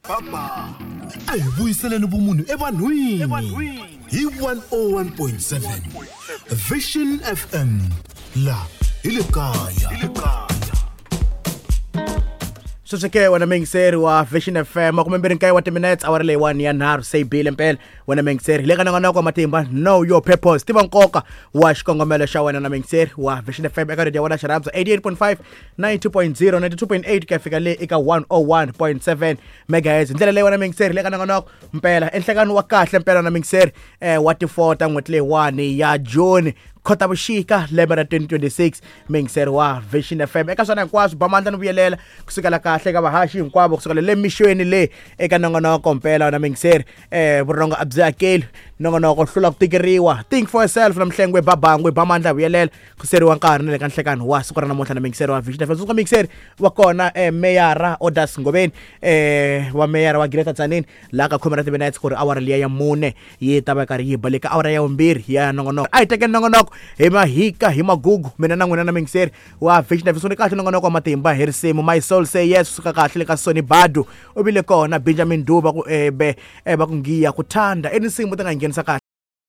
A hi vuyiseleni vumunhu evanhwini hi 101.7 Vision FM la hi le kaya. Sweswi ke wena muyingiseri wa Vision FM, 29 wa timinetse, awara leyiwani ya nharhu se yi bile mpela. Wena muyingiseri, hi le ka nongonoko wa matimba, Know Your Purpose, tiva nkoka wa xikongomelo xa wena, na muyingiseri wa Vision FM eka radio ya wena xirhandza 88.5, 92.0, 92.8 ku ya fika le eka 101.7 megahertz. Hi ndlela leyi, wena muyingiseri, hi le ka nongonoko mpela enhlekani wa kahle mpela na muyingiseri wa ti-4 ta n'hweti leyiwani ya June, Khotavuxika, lembe ra 2026. Muyingiseri wa Vision FM, eka swona hinkwaswo ba mandla ni vuyelela kusukela kahle eka vahaxi hinkwavo, kusukela le mixweni le eka nongonoko mpela na muyingiseri vurhongo a byi hakeli nongonoko hlula ku tikeriwa, Think for Yourself, na Mhlengwe Babangwe ba mandla vuyelela kuseriwa nkarhi na le ka nhlekani wa siku ra namuntlha na muyingiseri wa Vision FM. Tsundzuka muyingiseri wa kona meyara Odas Ngoveni wa meyara wa Greater Tzaneen laha ka khume ra timinetse ku ri awara liya ya mune yi ta va karhi yi baleka awara ya vumbirhi ya nongonoko. A hi tekeni nongonoko hi mahika hi magugu, mina na n'wina na muyingiseri wa Vision FM. Sungule kahle nongonoko wa matimba hi risimu My Soul Say Yes kusuka kahle le ka Sony Badu. U vile kona Benjamin Duba ku be va ku ngiya ku thanda i tinsimu ti nga nghenisa kahle.